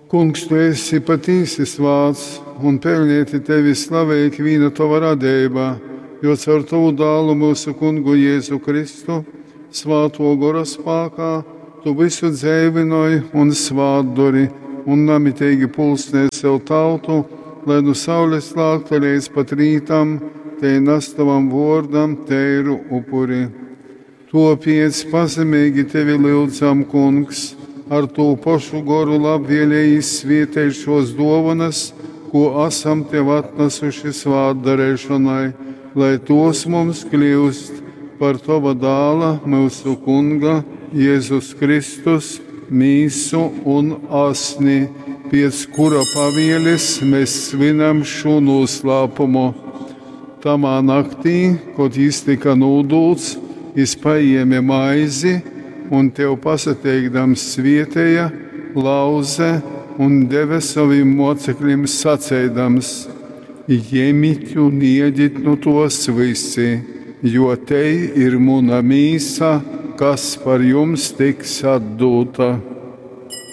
Kungs, tu esi patīsi svāts, un peļneiti tevi slavej ikvīna tova radeiba, jo caur tovu dālu myusu kungu Jēzu Kristu, svātuo gora spākā, tu vysu dzeivynoj un svātdori, un namiteigi pulsnej sev tautu, lai nu saules lākta leidz pat rītam tei nas tovam vuordam teiru upuri. Tuopiec pazemeigi tevi lyudzam, Kungs, ar tū pošu goru labvieleigi svietej šuos duovonys, kū asam tev atnasuši svātdareišonai, lai tuos mums kliust par tova dāla, myusu Kunga, Jēzus Kristus, mīsu un asni, piec kura pavielis mēs svinam šū noslēpumu. Tamā naktī, kod jis tika nūdūts, jis paēma maizi un tev pasateikdams svieteja, lauze un deve sovim moceklim saceidams: Jemit un iedit nu tos visi, jo tei ir muna mīsa, kas par jums tiks atdūta.